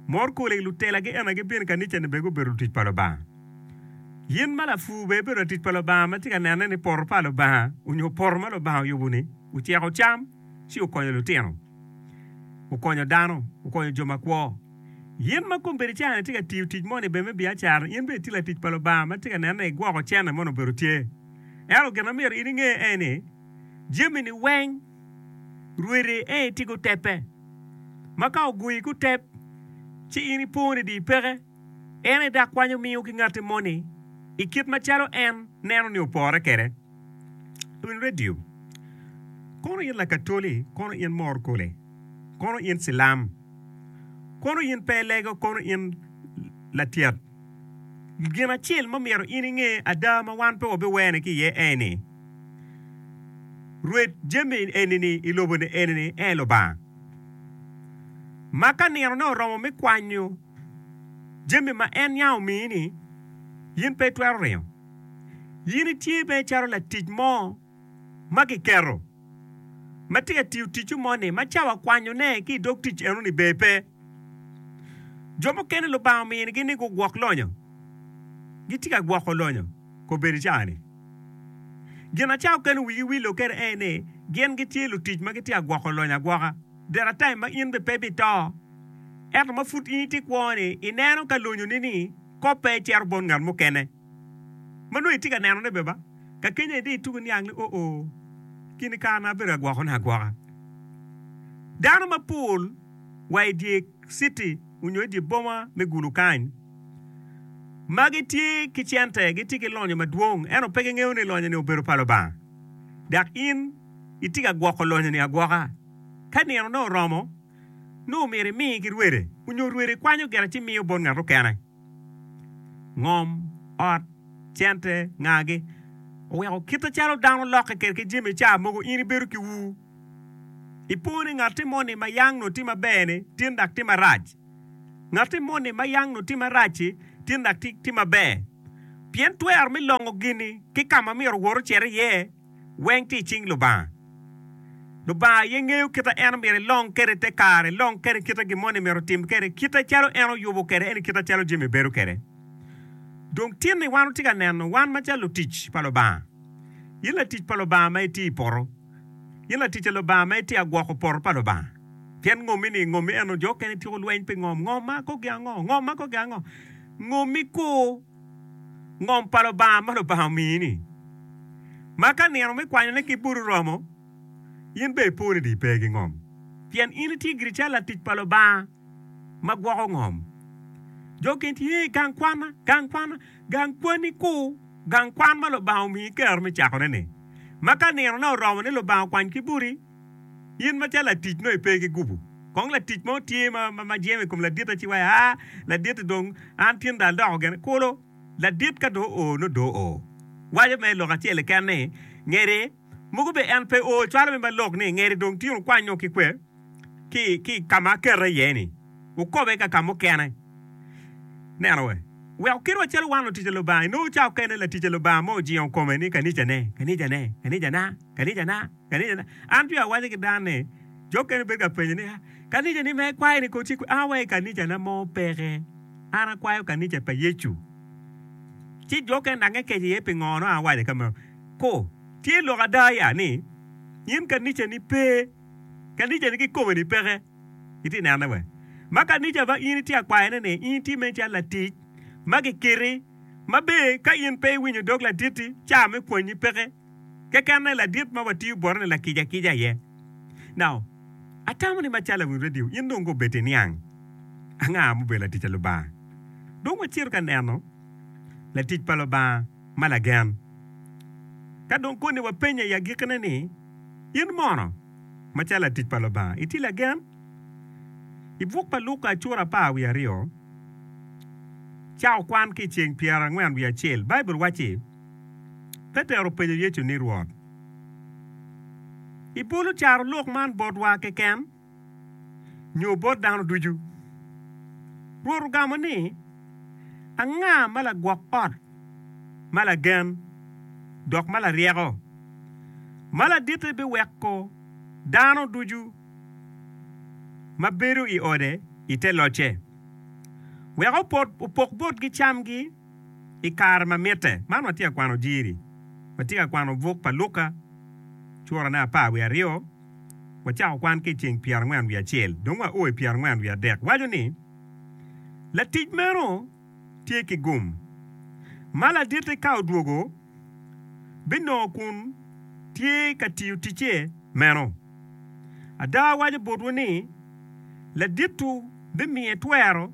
Mor kole lutelagi ena gibino i kanica-ni bene gubedo lutic pa Lubanga. In ma lapur bene ibedo latic pa Lubanga ma tye ka nene ni poto pa Lubanga onyo poto ma Lubanga oyubo-ni oceko cam ci okonyo lutino, okonyo dano, okonyo jo makwo. In ma kombeddi caa-ni itye ka tiyo tic moni bene me biacara-ni, in bene itye latic pa Lubanga ma tye ka nene ni igwoko cente moni obedo tye. Ento gin ma myero in inge en ni, jami-ni weng rwede en tye guteppe. Ma ka ogoyi gutep, ci in ipo ni dong ipeke. En aye dok kwanyo miyo ki ngatti moni i kit macalo en neno ni opore kwede. Lwiny redio, Kono in Lakatoli, kono in mor kole, kono in Cilam, kono in pe ilego, kono in latyet. Gin acel ma myero in inge ada ma wan pe wabiwene ki iye en ni, rwed jami eni-ni i lobo-ni eni-ni en Lubanga. Ma ka ninone oromo me kwanyo jami ma en yam omiyi-ni, in pe itwero ringo. In itye mere calo latic mo ma kiketo ma tye ka tiyo ticce moni ma cawa kwanyone ki i dog tic enoni ber pe. Jo mukene Lubanga ominigi ni gugwok lonyo. Gitye ka gwoko lonyo kobedo i cawa-ni. Gin aca okene wigi wilo kwede en ni gin gitye lutic ma gitye ka gwoko lonyo agwoka. There are time ma in bene pe ibito ento ma pud in itye kwo-ni ineno ka lonyoni-ni koppe cito bot ngat mukene ma nongo itye ka nenone bene ba. Ka kenyo aye dong ituko niang ni oo kine kare na abedo ka gwokone agwoka. Dano mapol wa i dye citi onyo i dye boma me Gulu kany ma gitye ki cente, gitye ki lonyo madwong ento pe gingeyo ni lonyo-ni obedo pa Lubanga. Dok in itye ka gwoko lonyo-ni agwoka. Ka ninone oromo, nongo myero imi ki rwede onyo rwede kwanyo gire ci miyo bot ngat mukene. Ngom, ot, cente, ngagi oweko kite calo dano lokke kwede ki jami ca mogo in ibedo ki ur. Ipo ni ngatti moni ma yang nongo tye maber-ni tin dok tye marac. Ngatti moni ma yang nongo tye marac-ci tin dok tye maber. Pien twero me longo gin-ni ki ka ma myero owot ocit iye weng tye i cing Lubanga. Lubanga aye ngeyo kite en myero elong kwede te kare, elong kwede kite gin moni myero otim kwede, kite calo en oyubo kwede, ento kite calo jami bedo kwede. Dong tin-ni wan watye ka neno wan macalo lutic pa Lubanga. In latic pa Lubanga ma itye i poto. In latic pa Lubanga ma itye ka gwoko poto pa Lubanga. Pien ngommi-ni, ngommi eno, jo okene tyeko lweny pi ngom. Ngom ma kogi ango? Ngom ma kogi ango? Ngommi kur. Ngom pa Lubanga ma Lubanga omiyi-ni. Ma ka nino me kwanyone ki boti oromo, in bene ipo ni dong ipe ki ngom. Pien in itye giri calo latic pa Lubanga ma gwoko ngom. Jo okene tye i gang kwanna, gang kwanna, gang kwanni kur, gang kwan ma Lubanga omiyi kero me cakone-ni. Ma ka ninone oromo ni Lubanga okwany ki boti, in macalo latic nongo ipe ki gubu. Kong latic mo tye ma jemo i kom laditte ci waco, Aa, laditti dong an tin dong adoko gene. Kulu, ladit ka dong oo nongo dong oo. Waco mere lok acel keken ni, Ngedi, mogo bene en pe oo, cwalo me malok ni, Ngedi dong tin wukwanyo ki kwe ki i ka ma akete iye-ni, wukobe ka ka mukene. Neno we. Wek oket wa calo wan lutic a Lubanga. Inongo ca okene latic a Lubanga mo ojingo kome ni kanicane, kanicane, kanicana, kanicana, kanicana. An jwi awaco ki dano ni, jo okene bedo ka penyo ni, kanica ni ma ikwayo ni kono tye kwe? An awaco kanicana mo peke. An akwayo kanica pa Yecu. Ci jo okene dok nge keco iye pingo nongo an awaco ka meno. Ku, tye lok ada ya ni, in kanicani pe, kanicani kikome ni peke. Itye nene we? Ma kanica ma in itye akwayone ni in itye mere calo latic ma giketi ma be ka in pe iwinyo dog ladit-ti ca me pwonyi peke keken ne ladit ma watiyo bote ni lakica kica aye. Now, atamo ni macalo lawiny radio in dong gobed iniang anga mubedo latic a Lubanga. Dong wacito ka neno latic pa Lubanga ma lagen. Ka dong koni wapenye i agikkine ni, In mono? Macalo latic pa Lubanga, itye lagen? I buk pa Luka cura 12, cako kwan ki i ceng 41, Baibul wacci, Petero openyo Yecu ni, Rwot, ibolo carolok man botwa keken, nyo bot dano ducu? Rwot ogamo ni, Anga ma lagwok ot ma lagen dok ma laryeko, ma laditte biweko dano ducu ma bedo i ode i te locce? Wek opok botgi camgi i kare ma mitte. Man watye ka kwano Jiri. Watye ka kwano buk pa Luka, curane 12. Wacako kwan ki i ceng 41, dong wao i 43. Waco ni, Latic meno tye ki gum, ma laditte ka odwogo binongo kun tye ka tiyo ticce meno. Ada awaco botwu ni, ladit-tu bimiye twero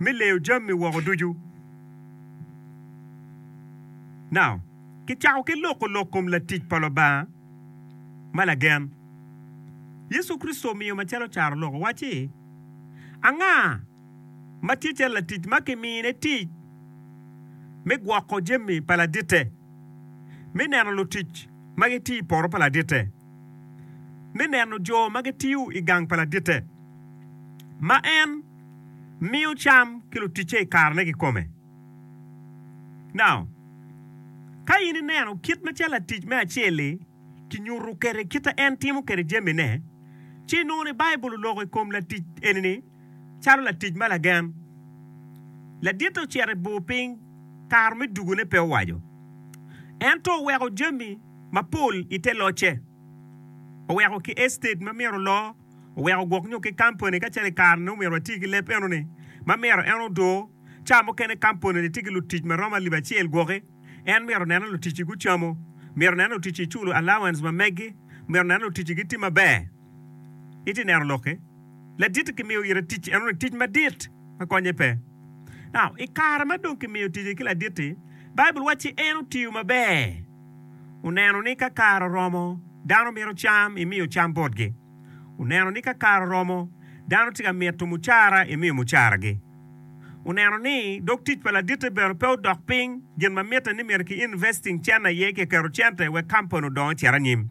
me leyo jami woko ducu. Now, kicako ki loko lok kom latic pa Lubanga ma lagen. Yecu Kricito omiyo macalo carolok owacci, Anga ma tye calo latic ma kimine tic me gwoko jami pa laditte, me neno lutic ma gitiyo i poto pa laditte, me neno jo ma gitiyo i gang pa laditte, ma en miyo cam ki luticce i karene kikome? Now, ka in ineno kit macalo latic me acel-li kinyuto kwede kit ma en timo kwede jamine, ci inongo ni Baibul oloko i kom latic eni-ni calo latic ma lagen. Laditte ocito i bur piny, kare me dugone pe owaco. Ento oweko jami mapol i te locce. Oweko ki estate ma myero oloo, oweko gwok nyo ki kampani ka calo i kare-ni nongo myero wati ki leb enoni ma myero en odoo. Ca mukene kampani-ni tye ki lutic ma romo alip acel gwoki. En myero onen ni luticci gucamo, myero onen ni luticci iculo allowance ma meggi, myero onen ni luticci gitye maber. Itye neno lokki? Ladit kimiyo ite tic enoni tic madit ma konye pe. Now, i kare ma dong kimiyo tic-ci ki ladit-ti, Baibul wacci en otiyo maber. Oneno ni ka kare oromo, dano mito cam, imiyo cam botgi. Oneno ni ka kare oromo, dano tye ka mito mucara, imiyo mucaragi. Oneno ni dog tic pa laditte bene pe odok piny, gin ma mitte ni myero ki investing cente aye kiketo cente wek kampani odong ocit anyim.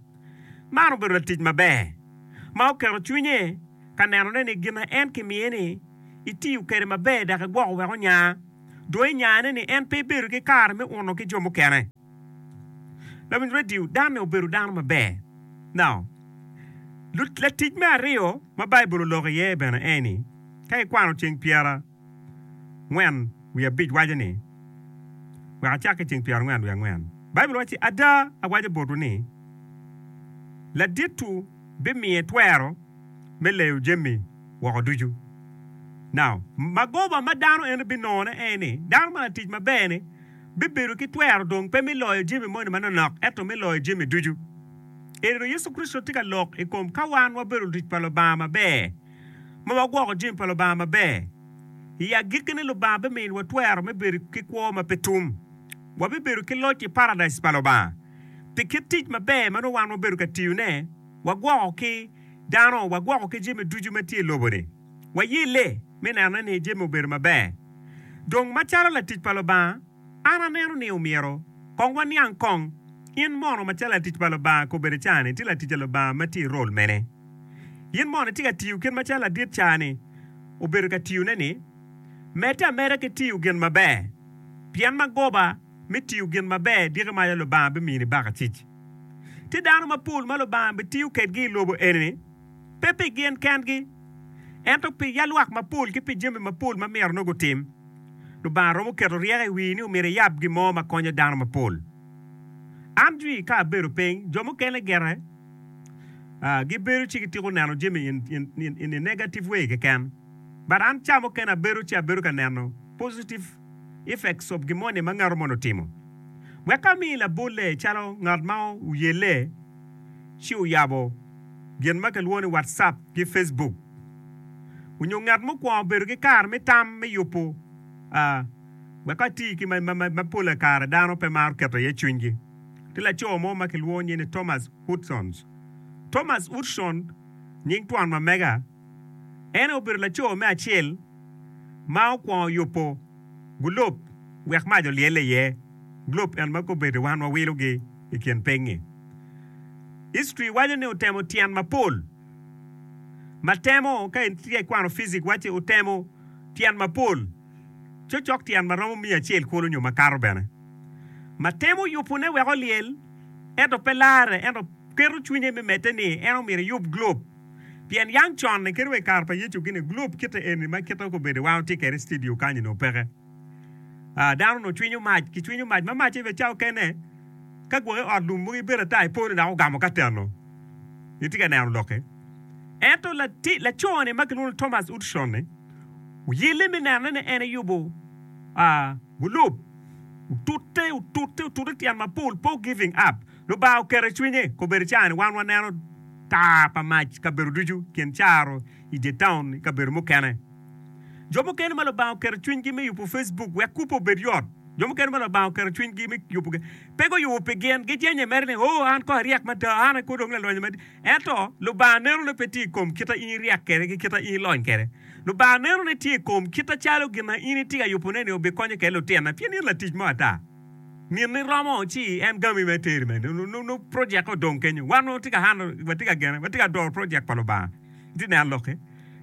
Man obedo latic maber ma oketo cwinye ka nenone ni gin ma en kimiye-ni itiyo kwede maber dok egwoko wek onya. Dong inyane ni en pe ebedo ki kare me uno ki jo mukene. Lawiny redio, Danne obedo dano maber. Now, latic me aryo ma Baibul oloko iye bene eni, ka ikwano ceng pyera ngwen wiye abic waco ni, wek acak ki ceng 44. Baibul wacci, Ada awaco botwu ni, ladit-tu bimiye twero me leyo jami woko ducu. Now, magoba ma dano eno binongone en ni, dano ma latic maber-ni bibedo ki twero dong pe me loyo jami moni manonok ento me loyo jami ducu. Ento Yecu Kricito tye ka lok i kom ka wan wabedo lutic pa Lubanga maber, ma wagwoko jami pa Lubanga maber, i agikkine Lubanga biminiwa twero me bedo ki kwo ma pe tum. Wabibedo ki loc i Paradic pa Lubanga. Pi kit tic maber ma nongo wan wabedo ka tiyone, wagwoko ki dano, wagwoko ki jami ducu ma tye i lobo-ni. Wayelle me nenone ni jami obedo maber. Dong macalo latic pa Lubanga, an aneno ni omyero kong waniang kong, In mono macalo latic pa Lubanga kobedo ca-ni, itye latic a Lubanga ma tye i rol mene? In mono itye ka tiyo kit macalo ladit ca-ni obedo ka tiyone-ni? Medde ameda ki tiyo gin maber, pien magoba me tiyo gin maber diki maca Lubanga bimini bakacic. Tye dano mapol ma Lubanga bitiyo kedgi i lobo eni-ni, pe pi gin kengi, ento pi yalwak mapol ki pi jami mapol ma myero nongo gutim. Lubanga romo keto ryeko i wii ni omyero iyab gin mo ma konyo dano mapol. An jwi ka abedo piny, jo mukene gire gibedo ci gitiko neno jami in a negative way keken. But an ca mukene abedo ci abedo ka neno positive effects of gin moni ma ngat moni otimo. Wek ami labolle calo ngat ma oyelle ci oyabo gin ma kilwongo ni WhatsApp ki Facebook onyo ngat mukwongo obedo ki kare me tam me yubo wek ati ki ma pol kare dano pe maro keto iye cwinygi. Tye laco mo ma kilwongo nyinge ni Thomas Hudson. Thomas Hudson nying twon ma mega. En aye obedo laco me acel ma okwongo yubo gulob wek mac olyelle iye. Gulob en ma kobedo wan wawilogi i kin piny-ngi. History waco ni otemo tyen mapol ma temo ka itye ka kwano physics wacci otemo tyen mapol cocok tyen ma romo miya acel kulu nyo makato bene ma temo yubone wek olyel ento pe larre ento keto cwinye me medde ni en omyero eyub globe. Pien yang con-ni kadi wa i kare pa Yecu gini, gulob kite eni ma kite obedo wan watye kwede i studio kany onongo peke. Ah, dano onongo cwinyo mac, kicwinyo mac ma macce bene cawa okene ka gwoki i ot lum mogo ibedo ata iponi dok ogamo ka teno. Itye ka neno lok-ki? Ento lati, laco-ni ma kilwongo ni Thomas Hudson-ni oyelle me nenone ni en eyubo ah, gulob. Otute, otute, otute tyen mapol, pe o giving up. Lubanga oketo i cwinye, kobedo caa-ni wan waneno tar pa mac kabedo ducu, kin caro, i dye taun, i kabedo mukene. Jo mukene ma Lubanga oketo cwinygi me yubo Facebook wek kubbe obed yot. Jo mukene ma Lubanga oketo cwinygi me yubo pe guyubo pi gin, gijenye mere ni, Oh, an kong aryek mada, an aye kong dong lalonyo madit. Ento, Lubanga neno ni pe tye i kom kita in iryek kwede ki kita in ilony kwede. Lubanga neno ni tye i kom kita calo gin ma in itye ka yubone-ni obikonyo kwede lutinna, pien in latic mo ata. Minni romo ci en gami me teri me nongo project odong kenyo. Wan watye ka hano, watye ka gene, watye ka doro project pa Lubanga. Itye neno lokki?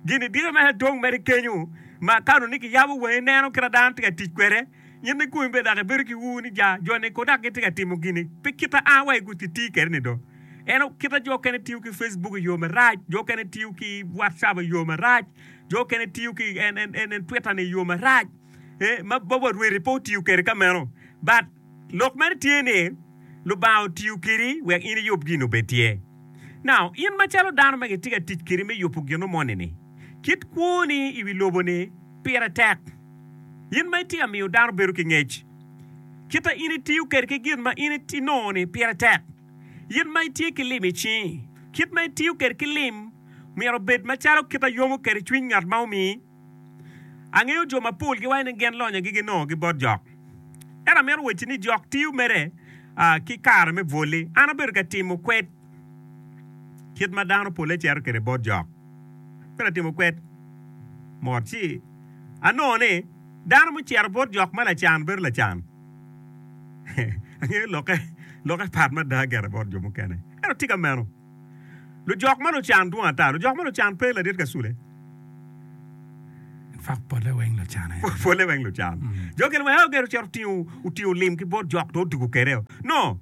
Gini dito mere dong mere kenyo ma ka onongo ni kiyabo wangi ineno kit ma dano tye ka tic kwede, in ikomi bene dok ibedo ki ur ni ja, jo-ni kono dok gitye ka timo gini pe kita a wa i giti kwede ni do. Ento kita jo okene tiyo ki Facebook i yo marac, jo okene tiyo ki WhatsApp i yo marac, jo okene tiyo ki en, en, en, Twitter ni i yo marac. Eh, ma wa rwedi pe otiyo kwede ka meno. But lok mere tye ni Lubanga otiyo kwedi wek in iyub gin obed tye. Now, in macalo dano ma gitye ka tic kwedi me yubo gino moni-ni, kit kwoni i wi lobo-ni pire tek. In ma itye ka miyo dano bedo ki ngec, kit ma in itiyo kwede ki gin ma in inongo-ni pire tek. In ma itye ki lim i cingi, kit ma itiyo kwede ki lim myero obed macalo kit a yomo kwede cwiny ngat ma omiyi. Angeyo jo mapol giwaco ni gin lonyogi ginongogi bot jok. Ento amito wacci ni jok tiyo mere ki kare me bwoli. An abedo ka timo kwed kit ma dano polle cito kwede bot jok. Abedo ka timo kwed mot ci anongo ni dano mucito bot jok ma lacan bedo lacan. Angeyo lokke lokke pat mada gire bot jo mukene. Ento tika meno? Lujok ma lucan dwong ata. Lujok ma lucan pe ladit kasule. In fact, polle weng lucan aye. Polle weng lucan. Jo kene weng ogero ocito otingo otingo lim ki bot jok dong odugo kwede. No.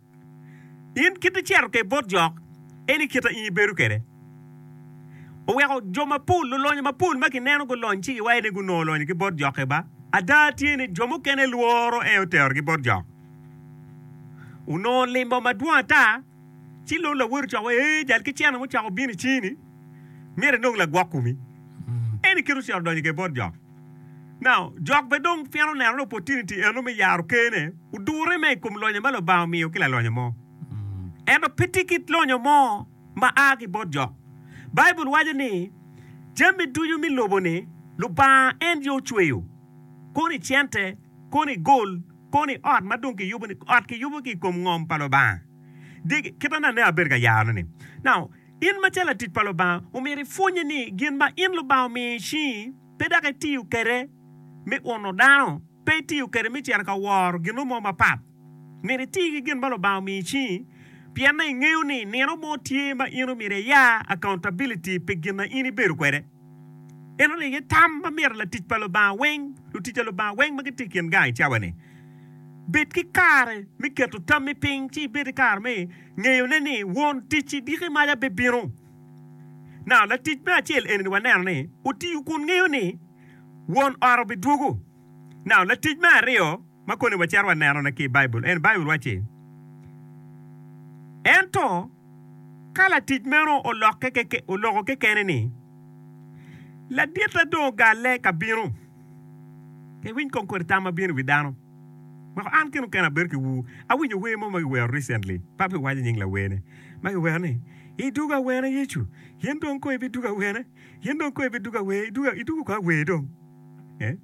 In kit icito kwede bot jok, en i kite in ibedo kwede. Oweko jo mapol, lulonyo mapol ma kineno gulony ci giwaco ni gunongo lonyo ki bot jokke ba. Ada tye ni jo mukene lworo en oterogi bot jok. Onongo limo madwong ata. Ci lon lawoti ocako wai, Ee, jal ki cene mucako bino i cingi-ni, myero inong lagwok komi. En i kite ocito odonyo kwede bot jok. Now, jok bene dong pien oneno ni opportunity eno me yaro ker-ne, odure me i kom lonyo ma Lubanga omiyo ki lalonyo mo. Ento pe tye kit lonyo mo ma a ki bot jok. Baibul waco ni, Jami ducu me lobo-ni Lubanga en aye ocweyo, kono i cente, kono i gol, kono i ot ma dong kiyubo-ni, ot kiyubo ki i kom ngom pa Lubanga. Diki, kit ma nene abedo ka yarone-ni. Now, in macalo latic pa Lubanga, omyero ipwonye ni gin ma in Lubanga omiyo i cingi pe dok itiyo kwede me uno dano, pe itiyo kwede me cito ka woro gin mo mapat. Myero iti ki gin ma Lubanga omiyo i cingi, pien ni ingeyo ni nino mo tye ma in omyero iya accountability pi gin ma in ibedo kwede. Eno ni aye tam ma myero latic pa Lubanga weng, lutic pa Lubanga weng ma gitye i kin gang i cawa-ni, bed ki kare me keto tammi piny ci ibed ki kare me ngeyone ni won tic-ci diki maca bibino. Now, latic me acel eni waneno ni otiyo kun ngeyo ni won ot obidwogo. Now, latic me aryo ma koni wacito wanenone ki i Baibul eni, Baibul wacci, Ento ka latic meno olokke oloko kekene ni, 'Laditta dong ogalle ka bino. Iwiny kong kodi tam ma bino i wi dano. Weko an kine mukene abedo ki ur. Awinyo wer mo ma kiwero recently, pe abiwaco nying lawerne, ma kiwero ni, Idwogo awene Yecu, in dong kong ibidwogo awene, in dong kong ibidwogo awer, idwogo kong awer dong. Eh?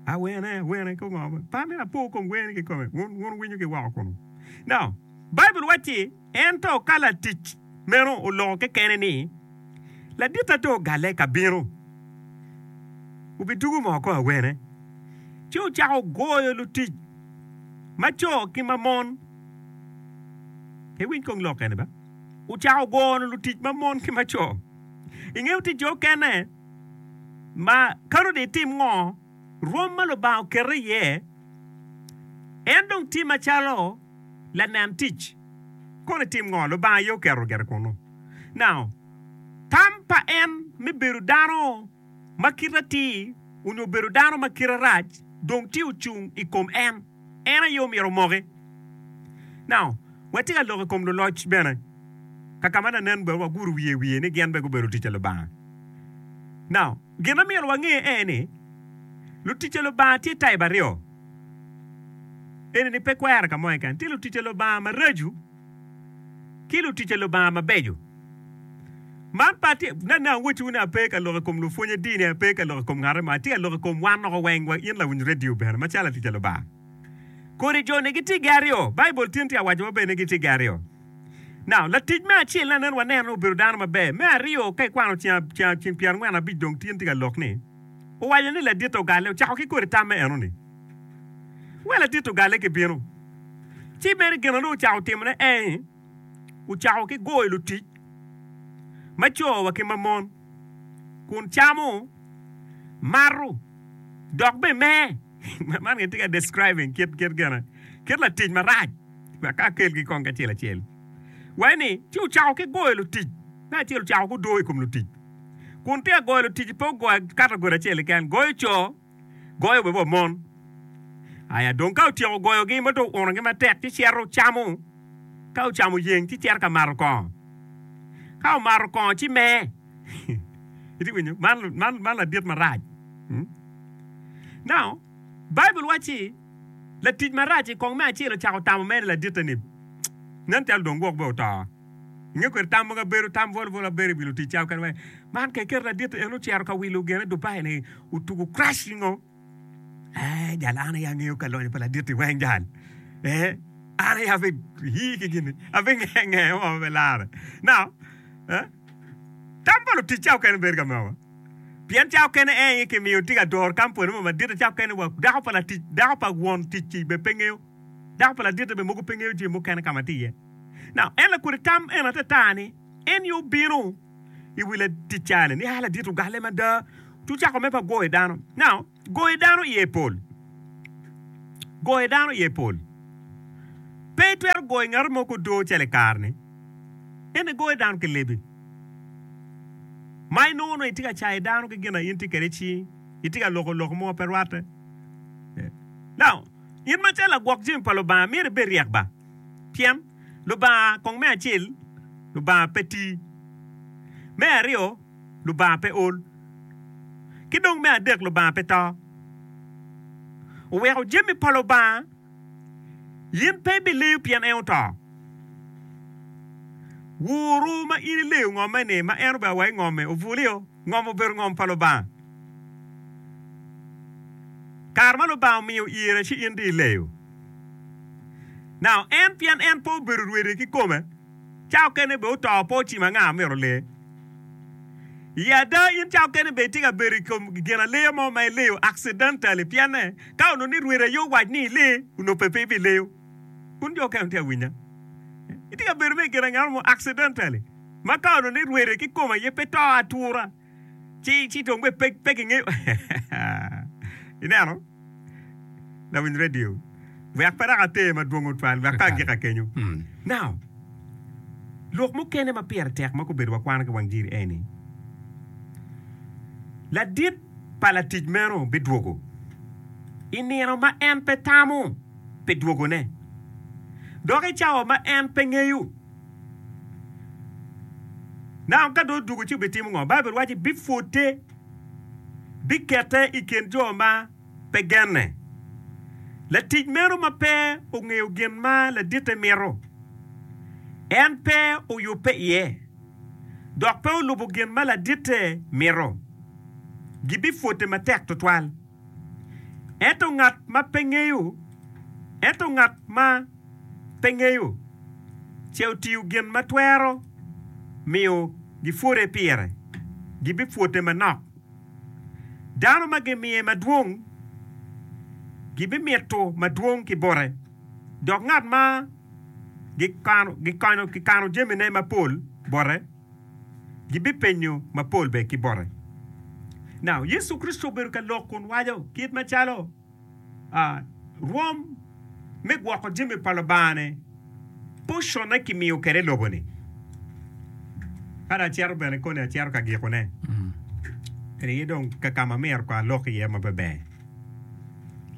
Awene, awene, ko ngo? Pe amito apo kom wer-ni kikome. Wun, wun wuwinyo ki woko kunu. Now, Baibul wacci, Ento ka latic meno oloko kekene ni, 'Laditta dong ogalle ka bino, wubidwogo moo kong awene?' Ci ocako goyo lutic ma co ki ma mon. Iwiny kong lok eni ba. Ocako goyo lutic ma mon ki ma co. Ingeyo tic jo okene ma kano dong itim ngo, rwom ma Lubanga oketo iye, en dong tye macalo lanen tic. Kono itim ngo? Lubanga aye oketo gire kunnu. Now, Tam pa en me bedo dano ma kite atir onyo bedo dano ma kite rac dong tye ocung i kom en. En aye omyero omoki. Now, watye ka lok i kom luloc bene, kaka ma lanen bene waguro wiye i wiye ni gin bene gubedo lutic pa Lubanga. Now, gin ma myero wange en ni, lutic pa Lubanga tye type aryo. Eni ni pe kwere ka mo keken. Tye lutic pa Lubanga maraco ki lutic pa Lubanga mabeco. Man pe atye, nene awacciwu ni ape ka lok i kom lupwonye dini, ape ka lok i kom ngate mo, atye ka lok i kom wan woko weng, wa in lawiny redio bene, macalo latic pa Lubanga. Kodi jo-ni gitye gi aryo. Baibul tin tye ka waco maber ni gitye gi aryo. Now, latic me acel nanen waneno ni obedo dano maber. Me aryo, ka ikwano ceng, ceng, ceng pyerangwen abic dong tin tye ka lok ni, owaco ni laditte ogalle, ocako ki kodi tamme enoni. Wek laditte ogalle ki bino. Ci mere gin ma dong ocako timone en, ocako ki goyo lutic ma co wa ki ma mon, kun camo, mato, dok bene mer. Man gitye ka describing kit kit gene, kit latic marac. Wek ka akelgi kong kacel acel. Waco ni, ci ocako ki goyo lutic. Me acel ocako ki odo i kom lutic. Kun tye ka goyo lutic, pe ogoyo kategori acel keken, goyo co, goyo bene wa mon. Aya dong ka otyeko goyogi ma dong ounogi matek ci cito camo, ka ocamo yeng ci cito ka mato kongo. Ka omato kongo ci mer. Itye winyo? Man, man, man ladit marac. Hmm? Now, Baibul wacci latic marac i kong me acel ocako tamo mere laditte ni, Nen calo dong gwok bene oto. Inge kwede tam mogo abedo tam bwolo bwolo abedo i wi lutic ca okene wai man ka iketo ladit en ocito ka wilo gene Dubai ni otugo crash ningo eh jal an aye angeyo ka lonyo pa ladit-ti weng jal eh an aye abe ii ki gini abe nge nge mo me lare now eh tam pa lutic ca okene bedo ka mewa pien ca okene en aye kimiyo tye ka doro kampuni mo madit ca okene wa dako pa latic dako pa won tic-ci bene pe ngeyo dako pa laditte bene mogo pe ngeyo jami mukene ka ma tye iye. Now, en lakodi tam en atata ni en aye obino i wi latic ca-ni ni, 'A ladit ogalle mada, ci ocako me pa goyo dano. Now, goyo dano iye pol. Goyo dano iye pol. Pe itwero goyo ngat mo ki odoo calo i kare-ni. En aye goyo dano ki lebi. Ma inongo nongo itye ka cayo dano ki gin ma in itye kwede i cingi, itye ka loko lok mo ma pe rwatte. Now, in macalo lagwok jami pa Lubanga myero ibed ryek ba. Pien Lubanga kong me acel, Lubanga pe ti. Me aryo, Lubanga pe ol. Ki dong me adek, Lubanga pe to. Oweko jami pa Lubanga, in pe ibileyo pien en oto. Wuru ma in ileyo ngomme-ni, ma en obedo wa i ngomme, obulio. Ngom obedo ngom pa Lubanga. Kare ma Lubanga omiyo ire ci in dong ileyo. Now, en pien en pe obedo rwede kikome, ca okene bene oto pe ocimo anga myero ole. I ada in ca okene bene itye ka bedo i kom gin aleya mo ma ileyo accidentally pienne ka onongo ni rwede aye owac ni ile onongo pe pe ibileyo. Kun jo okene tye ka winya. Itye ka bedo me i gin angano mo accidentally ma ka onongo ni rwede kikome aye pe to atura ci ci dong bene pe pe kingeyo. Ineno? Lawiny redio, wek pe dok ater madwong tutwal, wek pe agika kenyo. Now, lok mukene ma pire tek ma gubedo wakwano ki wang jiri eni, ladit pa latic meno bidwogo i nino ma en pe tamo pi dwogone, dok i cawa ma en pe ngeyo. Now, ka dong odwogo ci obitimo ngo? Baibul waco ni bipwode. bikete i kin jo ma pe genne. Latic meno ma pe ongeyo gin ma laditte mito, en pe oyubbe iye, dok pe olubo gin ma laditte mito, gibipwode matek twatwal. Ento ngat ma pe ngeyo, ento ngat ma pe ngeyo, ce otiyo gin ma twero miyo gipwode pire, gibipwode manok. Dano ma gimiye madwong, gibimito madwong ki bote, dok ngat ma gikano jamine mapol bote, gibipenyo mapol bene ki bote. Now, Yecu Kricito obedo ka lok kun waco kit macalo rwom me gwoko jami pa Lubanga-ni pocone kimiyo kwede i lobo-ni. Ka dong acito bene koni acito ka gikone. Eni aye dong ka ka ma myero kong alok iye maber.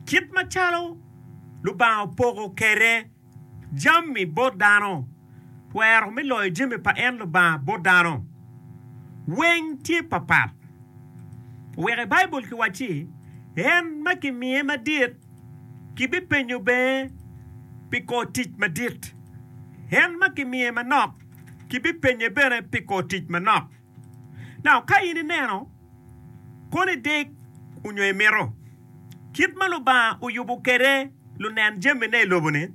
Kit macalo Lubanga opoko kwede jami bot dano, twero me loyo jami pa en Lubanga bot dano weng tye papat. Wek i Baibul kiwacci, En ma kimiye madit kibipenyo bene pi kor tic madit, en ma kimiye manok kibipenye bene pi kor tic manok. Now, ka in ineno kono idek onyo imito, kit ma Lubanga oyubo kwede lunen jamine i lobo-ni,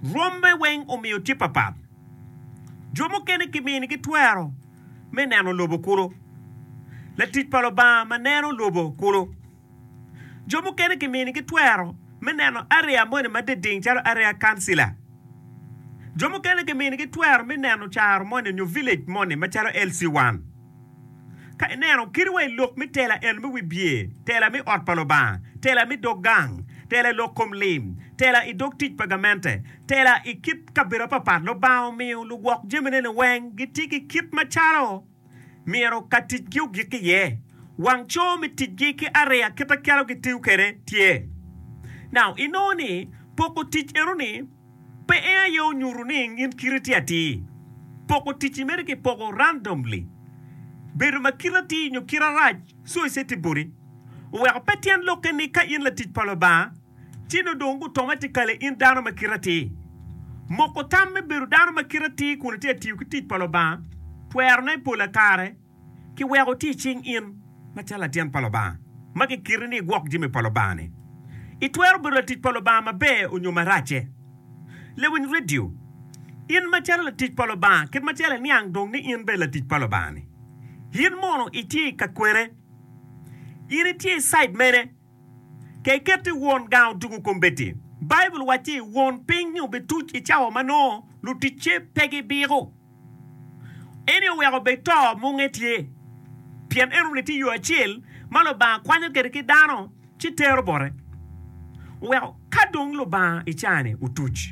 rwomme weng omiyo tye papat. Jo mukene kiminigi twero me neno lobo kulu, latic pa Lubanga ma neno lobo kulu. Jo mukene kiminigi twero me neno area moni ma diding calo area kancila. Jo mukene kiminigi twero me neno caro moni nyo village moni macalo LC1. Ka ineno kadi wa i lok me tela en me wibye, tela me ot pa Lubanga, tela me dog gang, tela i lok kom lim, tela i dog tic pa gamente, tela i kit kabedo apapat, Lubanga omiyo lugwok jamine-ni weng gitye ki kit macalo myero ka ticgi ogik iye. Wang co me ticgi ki ariya kit acalo gitiyo kwede tye. Now, inongo ni poko tic eno-ni pe en aye onyuto ni in kiti tye atir. Poko tic-ci mere kipoko randomly. Bedo ma kite atir nyo kite rac coice tye boti. Oweko pe tyen lokke ni ka in latic pa Lubanga, ci nongo dong automatically in dano ma kite atir. Moko tam me bedo dano ma kite atir kun itye ka tiyo ki tic pa Lubanga twerone pola kare kiweko tye i cing in macalo latin pa Lubanga ma kiketi ni igwok jami pa Lubanga-ni. Itwero bedo latic pa Lubanga maber onyo maracce. Lewiny redio, In macalo latic pa Lubanga, kit macalo iniang dong ni in bene latic pa Lubanga-ni, in mono itye i kakwene? In itye i cide mene? Ka iketti won gang otugo kombeddi, Baibul wacci won piny-nyi obituc i cawa ma nongo luticce pe gibiko. Eni oweko bed to munge tye, pien enoni tye yo acel ma Lubanga kwanyo kwede ki dano ci tero bote. Oweko ka dong Lubanga i caa-ni otuc.